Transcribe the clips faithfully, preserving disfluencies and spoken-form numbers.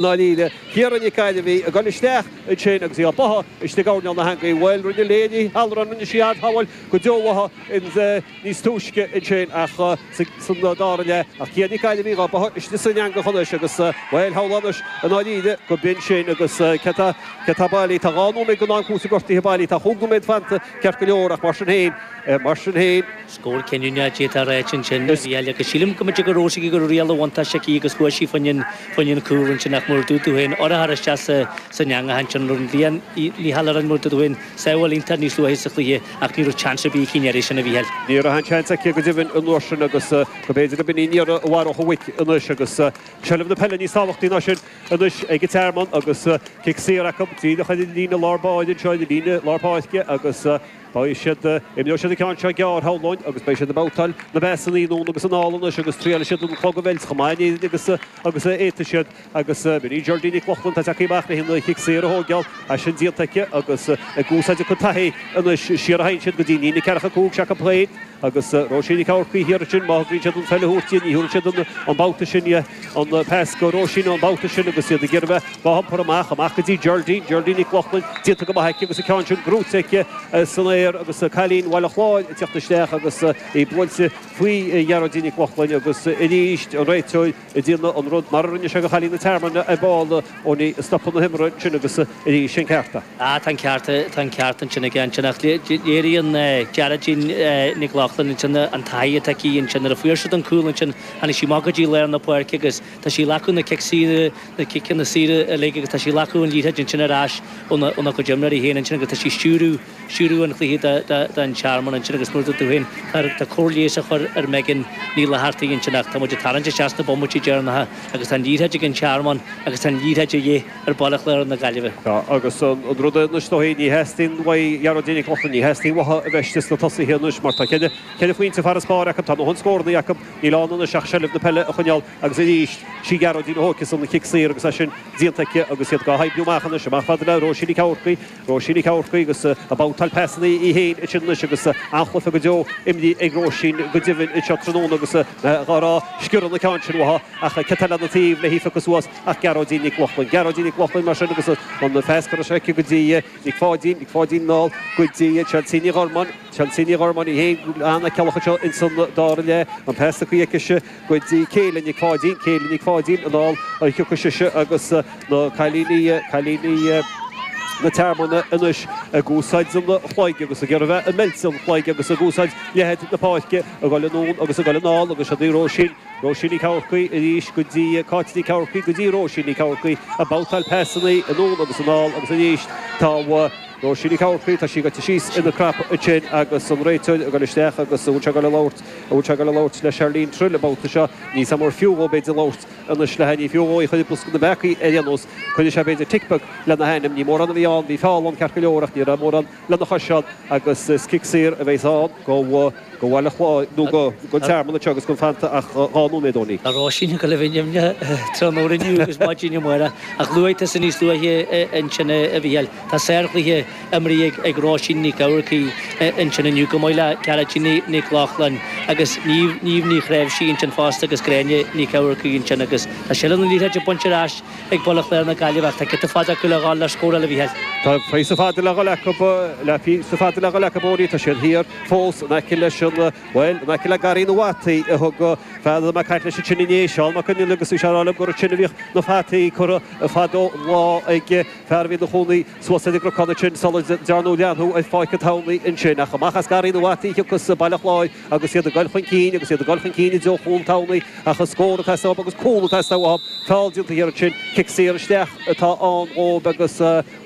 ndáiríre. Ciara Nic Ailbhí ag dul isteach ansin agus í á báthadh istigh i gcoirnéal na heangaí. Bhuel, rinne Léa Ní Halloran, rinne sí ardshábháil go deo uaithi níos túisce ansin ach san dara leath. Ach Ciara Nic Ailbhí á báthadh istigh san eangach anois agus, bhuel, shamhlófá anois i ndáiríre go b'in sin agus cé tá, cé tá bailí. Tá dhá nóiméad den am cúiteamh gortaithe bailí. Tá chúig nóiméad fanta ceart go leor ach mar sin féin, mar sin féin, Scór cinniúnach d'fhéadfá a ráit ansin a Mhícheáil agus sílim go mb'fhéidir go raibh sí go raibh riail an bhuntáiste aici agus chuaigh sí fá choinne an cúl ansin ach mar a dúirt tú féin urchar isteach sa san eangach ansin rinne Leah Ní Halloran mar a dúirt tú féin sábháil iontach níos luaithe sa chluiche ach ní raibh chance ar bith aici an iarraidh sin a Mhícheáil. Ní raibh aon chance aici go deimhin an uair sin agus go mb'fhéidir go b'in í an iarraidh a mharódh an mhuic anois agus seilbh na peile níos tábhachtaí ná sin anois ag an Tearmann agus cic saor acu díreach ar an líne lár báire anseo ar an líne lár páirce agus Beidh siad, imreoidh siad an ceann seo gearr, shamhlóinn, agus beidh siad ag babhtáil na bpasanna anonn agus anall anois agus triailfidh siad an clog a mheilt chomh maith in Éirinn agus agus a fhéadfaidh siad agus b'in í Geraldine Nic Lochlainn atá tagtha amach le an chic saor a thóigeáil, é sin déanta aici agus ag úsáid a cuid taithí anois siar a théann siad go dtí an líne ceathracha cúig s'acu féin agus Róisín Nic Eamharcaigh thiar ansin má thograíonn siad an pheil a thabhairt di ní thabharfaidh siad an babhta sin di an pas go Róisín an babhta sin agus iad ag iarraidh a bheith á hiompar amach amach go dtí Geraldine, Geraldine Nic Lochlainn déanta go maith aici agus an ceann sin gnóite aici san aer agus cailín Bhaile Chláir ag teacht isteach agus í buailte faoi Ghearóidín Nic Lochlainn agus arís an réiteoir ag déanamh an rud mar a rinne sé do chailín na Tearmainne ar ball Owenie ag stopadh na himeartha ansin agus arís an ceart. Ah tá an ceart, tá an ceart ansin aige ansin ach léiríonn Gearóidín Nic Lochlainn ansin an taithí atá aici ansin nuair a fuair siad an cúl ansin tháinig sí amach go dtí lár na páirce agus tá sí ag glacadh na cic saoire, na ciceanna saoire uilig agus tá sí ag glacadh an liathróid ansin ar ais óna cuid imreoirí féin ansin agus tá sí ag stiúradh, stiúradh an chluiche don Tearmann ansin agus mar a dúirt tú féin tá cóir leighis á chur ar Megan Ní Fhlathartaigh ansin ach tá muid ag tarraingt isteach sna bomaití deireanacha agus tá an liathróid ag an Tearmann agus tá an liathróid de dhíth ar Bhaile Chláir na Gaillimhe. Tá agus an rud é anois is dóigh ní theastaíonn uaidh Ghearóidín Nic Lochlainn, ní theastaíonn uathu a bheith istigh sna tosaithe anois mar tá ceithre ceithre phointe farasbairr acu, tá a ndóthain scóranna acu, níl ann anois ach seilbh na peile a choinneáil agus arís sí Gearóidín a thógfas an chic saor agus é sin déanta aici agus iad dhá hoibriú amach anois, amach fada le Róisín Nic Eamharcaigh, Róisín Nic Eamharcaigh agus ag babhtáil pasanna í féin ansin anois agus an-chluiche go deo imrithe ag Róisín go deimhin anseo tráthnóna agus dhá rá sciorradh na ceann sin uathu ach cé atá lena taobh le hí a phiocadh suas ach Gearóidín Nic Lochlainn. Gearóidín Nic Lochlainn mar sin agus an phas curtha aici go dtí Nic Pháidín, Nic Pháidín anall go dtí Chelsea Ní Ghormáin, Chelsea Ní Ghormáin í féin an-fheiceálach anseo ins an dara leath, an pas tugtha aicise go dtí Céile Nic Pháidín, Céile Nic Pháidín anall a thiocfaidh sise agus na cailíní, cailíní na Tearmainne anois ag úsáid an chloig agus ag iarraidh a bheith ag meilt an chloig agus ag úsáid leithead na páirce ag dul anonn agus ag dul anall agus siad í Róisín, Róisín Nic Eamharcaigh arís go dtí Cáit Nic Eamharcaigh go dtí Róisín Nic Eamharcaigh ag babhtáil pasanna anonn agus anall agus arís tá Róisín Nic Eamharcaigh, tá sí goite síos ina crap ansin agus an réiteoir ag dul isteach agus an bhfuil sé ag dul a labhairt, an bhfuil sé ag dul a labhairt le Charlene Trill an babhta seo, níl 's agam ar fiú dhó b'fhéidir labhairt anois léi, ní fiú dhó í a chur i bosca na bpeacaí ar aon nós, cuirfidh sé b'fhéidir tic beag lena hainm, ní mórán a bhí ann, bhí feall ann ceart go leor ach ní raibh mórán lena chois ann agus is cic saor a bheas ann go go Bhaile Chláir nó go go Tearmann anseo agus gan fanta ach dhá nóiméad Owenie. Tá Róisín ag dul a bheith nimhneach tráthnóna inniu agus maidin amárach ach luaigh tusa níos luaithe ansin a Mhícheáil, tá sárchluiche imrithe ag Róisín Nic Eamharcaigh ansin inniu chomh maith le Gearóidín Nic Lochlainn agus Niamh Ní Chnáimhsí ansin fosta agus Gráinne Nic Eamharcaigh ansin agus tá seilbh na liathróide bainte ar ais ag Baile Chláir na Gaillimhe ach tá giota fada acu le dhul le scóráil a Mhícheáil. Tá píosa fada le dhul acu, le píosa fada le dhul acu Owenie, tá siad thiar fós in aice leis an, bhuel, in aice le garraí na bhfataí a thug fear a raibh mé ag caint leis ansin inné, Seán Mac Conghail agus bhí sé ag rá liom gur ansin a bhíodh na fataí curtha fadó lá ag fear a bhí ina chónaí suas ar an gcnocán ansin sula ndearnadh leathnú ar Pháirc an Tamhnaigh ansin. Ach amach as garraí na bhfataí a thiocfas Baile Chláir agus iad ag dul chun cinn agus iad ag dul chun cinn i dtreo chúl an Tamhnaigh ach an scór ag teastáil uathu agus cúl ag teastáil uathu. Feall déanta thiar ansin, cic saor isteach atá ann dhóibh agus,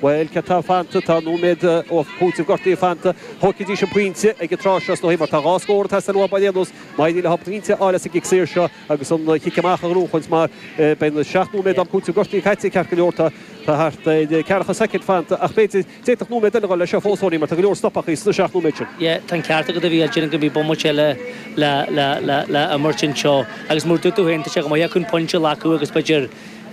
bhuel, cé tá fanta, tá nóiméad ó chúiteamh gortaithe fanta. Thógfaidís an pointe ag an tráth seo is dóigh mar tá dhá scór ag teastáil uathu ar aon nós. Má éiríonn leo pointe a fháil as an gcic saor seo agus an chic amach a ghnóchaint mar beidh na seacht nóiméad am cúiteamh gortaithe caite ceart go leor tá thart ar ceathracha soicind fanta ach b'fhéidir D'fhéadfadh nóiméad eile a dhul leis seo fós, Owenie, mar tá go leor stopachaí sna seacht nóiméad sin. Yeah, tá an ceart agat a Mhícheáil, déarfainn go mbeidh bomaite eile le, le, le, le imirt anseo agus mar a dúirt tú féin, tá sé go maith acu an pointe a ghlacadh agus b'fhéidir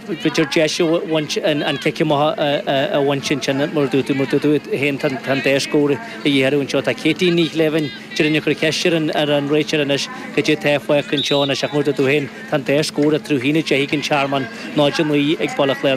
b'fhéidir deis a bhaint an cic amach a bhaint ansin mar dúirt tú mar dúirt tú féin tá an dá scór a dhíth orthu anseo. Tá Katie Ní Shléibhin déarfainn ag cur ceist ar an ar an réiteoir anois cad é atá fágtha anseo anois ach mar dúirt tú féin tá an dá scór eatarthu a haon a deich ag an Tearmann náid a naoi ag Baile Chláir.